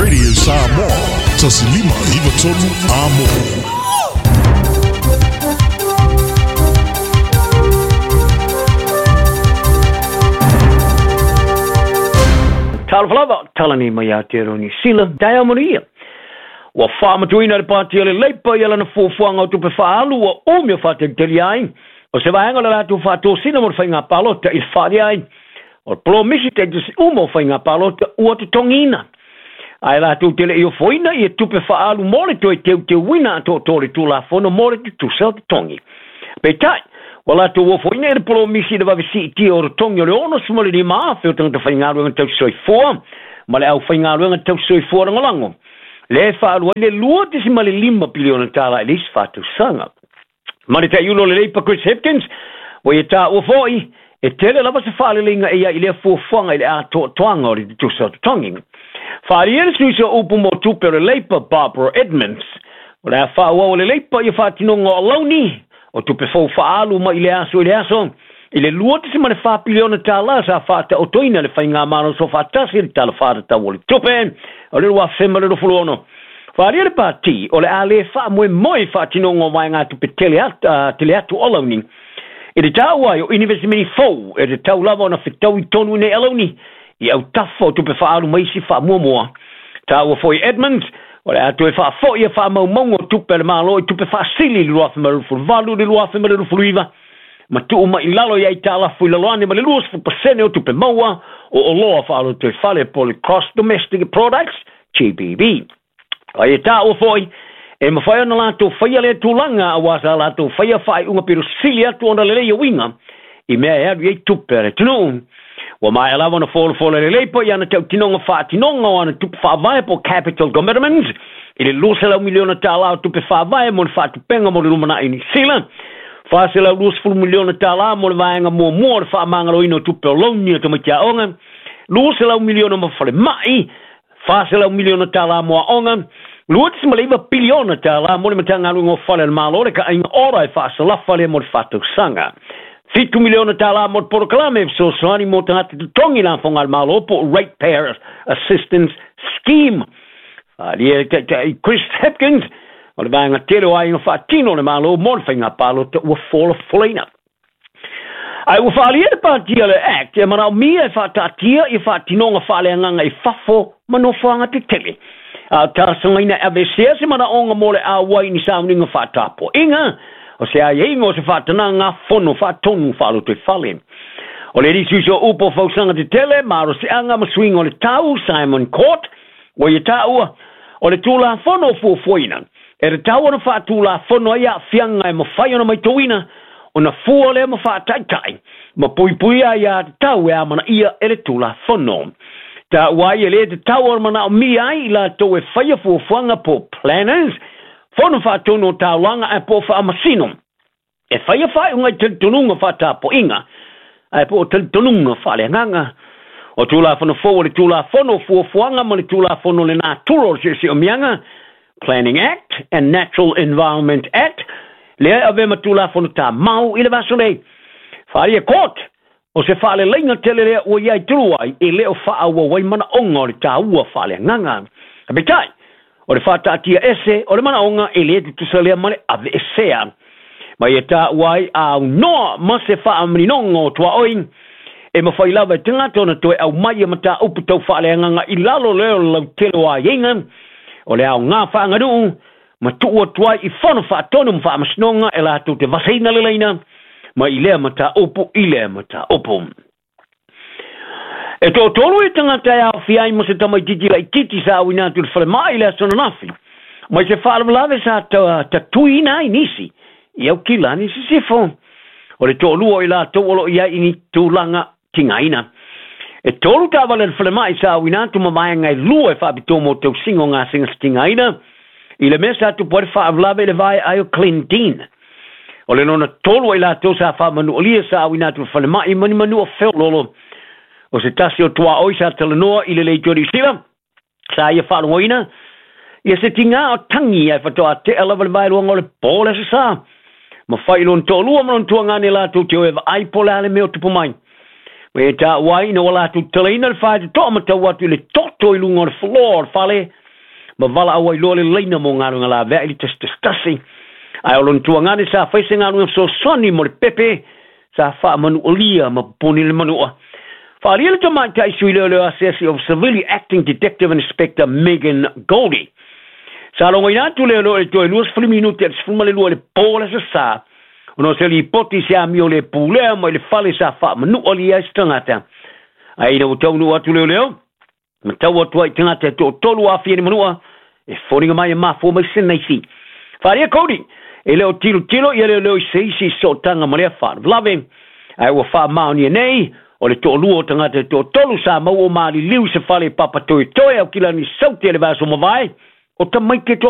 Radio Samoa, 1593 Amo. Talofa lava, tala nei mai Aotearoa Niu Sila, taeao manuia. Ua faamatuina le Pāti o le Leipa i lana fuafuaga o tupe faaalu ua umi o faatelitelia ai, o se vaega o le latou faatosina mo le faiga palota i le faaalia ai o le polomisi taitasi uma o faiga palota ua totogiina. Ae latou te le i ofoina ia tupe faaalu mo le toe teuteuina atoatoa o le Tulafono mo le tutusa o totogi. Peitai, ua latou ofoina i le polomisi i le vave siitia o totogi o le 65,000 o tagata faigaluega tausisoifua ma le aufaigaluega tausisoifua lagolago, lea e faaalu ai le $2.5 piliona tala i le isi 4 tausaga. Ma le taiulo o le Leipa Chris Hipkins, ua ia taua foi, e tele lava se faaleleiga e ia i lea fuafuaga i le atoatoaga o le tutusa o totogi. Faaalia le sui o upu mo tupe o le Leipa Barbara Edmonds, o le a faaauau e le Leipa ia faatinoga o alauni o tupe fou faaalu mai i le aso i le aso i le $2.4 piliona sa faataotoina le faigamalo soofaatasi i le Tala Faatatau o le Tupe o le 2026. Faaalia le pati o le a le faamoemoe faatinoga o vaegatupe tele atu, tele atu o alauni i le taua ai o inivesimeni fou e tatau lava ona fetaui tonu i nei alauni i autafa o tupe faaalu ma isi faamuamua. Taua foi Edmonds, o le a toe faafoi e faamaumauga o tupe a le Malo i tupe faasili i le 2018 i le 2029 ma tuu mai i lalo i aitalafu i lalo ane ma le 20% o tupe maua o oloa faalotoifale po o le Gross Domestic Products, GDP. Ai e taua foi, e mafai ona latou faia lea tulaga aua sa latou faia faaiuga pito sili atu ona lelei uiga i mea e alu i ai tupe a le atunuu. Ua maea lava ona folafola lelei po i ana tautinoga faatinoga o ana tupe faavae po capital commitments i le $200 miliona o tupe faavae mo le faatupenga mo le lumanai Niu Sila, $420 miliona mo le vaega muamua o le faamagaloina o tupe o louni o tamaiti aoga, $200 miliona ma falemai, $400 miliona mo aoga, $2.9 piliona mo le Matagaluega o Fale a le Malo, le kaaiga ora e faasalafa lea mo le 4 tausaga. $7 miliona mo le polokalame fesoasoani mo tagata totogi lafoga a le Malo po o Ratepayer Assistance Scheme. Faaalia e taitai Chris Hipkins, o le vaega tele o aiga faatino o le Malo mo le faiga palota ua folafolaina. Ae ua faaalia le patia le Act e manaomia e faataatia i faatinoga faaleagaga i fafo ma nofoaga tetele. A o talosagaina e aveesea se manaoga mo le auai ni sauniga faatapuaiga o se aiaiga o se faatanaga fono faatonu faalotoifale. O le alii sui o upu o fausaga tetele, malosiaga ma suiga o le tau, Simon Court, ua ia taua, o le Tulafono o fuafuaina, e tatau ona faatulafono ai aafiaga e mafai ona maitauina, ona fua lea ma faataitai, ma puipuia aiā tatau e amanaia e le Tulafono. Taua ai e le tatau ona manaomia ai i latou e faia fuafuaga po planners, fono faatonu o taulaga ae po o faamasino, e faia faaiuga i talitonuga faatapuaiga, ae po o talitonuga faaleagaga. O Tulafono fou o le Tulafono o Fuafuaga ma le Tulafono o le Natura o le Siosiomiaga, Planning Act and Natural Environment Act, lea e avea ma Tulafono Tamau i le vaiaso nei. Faaalia Court, o se faaleleiga tele lea ua iai tulu ai e le o faaauau ai manaoga o le taua faaleagaga. Peitai, o le faataatia ese o le manaoga e le tutusa lea ma le aveesea. Ma ia taua ai aunoa ma se faamaninoga o tuaoi e mafai lava e tagata ona toe aumai e mataupu tau faaleagaga i lalo lea o le lautele o aiaiga o le aoga faaganuu ma tuu atu ai i fono faatonu ma faamasinoga e latou te vasaina leleina mai i lea mataupu i lea mataupu. E toatolu i tagata e aofia ai ma se tamaititi laititi sa auina atu i le falemai i le aso ananafi, mai se faalavelave sa tatuiina ai nisi i Aukilani Sisifo. O le toalua o i latou o lo o i ai i ni tulaga tigaina. E tolu taavale a le falemai sa auina atu ma vaega e lua e faapitoa mo tausiga o gasegase tigaina i le mea sa tupu ai le faalavelave i le vae ai o Glendene. O le lona tolu ai latou sa faamanualia sa auina atu i le falemai ma ni manua feoloolo. O se tasi o tuaoi sa talanoa i le Leitio Niu Sila, sa ia faalogoina ia se tigā o tagi ae faatoa tea lava le vaeluaga o le po le aso Sa. Ma fai i lona toalua ma lona tuagane latou te o e vaai po o le a le mea o tupu mai. Ma e taua ai ina ua latou talaina le faitotoa ma tau atu i le toto i luga o le floor o le fale, ma valaau ai loa le laina mo galuega laveai i le 111. Ae o lona tuagane sa fai se galuega fesoasoani mo le pepe sa faamanualia ma poponi le manua. Faaalia le tamaitai sui leoleo asiasi o Civilian Acting Detective Inspector Megan Goldie. Sa logoina atu leoleo i le toe 20 minute i le 12 i le po o le Aso Sa, ona o se lipoti i se amio le pulea mai le fale sa faamanualia ai se tagata. Ae ina ua taunuu atu leoleo, ma tau atu ai i tagata e toatolu ua aafia i le manua, e foliga mai e mafua mai se naisi. Faaalia Cody, e le o tilotilo ia leoleo i se isi sootaga ma lea faalavelave, ae ua faamaonia nei, o le toalua o tagata e toatolu sa maua o maliliu i se fale i Papatoetoe, Aukilani Saute i le vaiaso mavae, o tamaiti e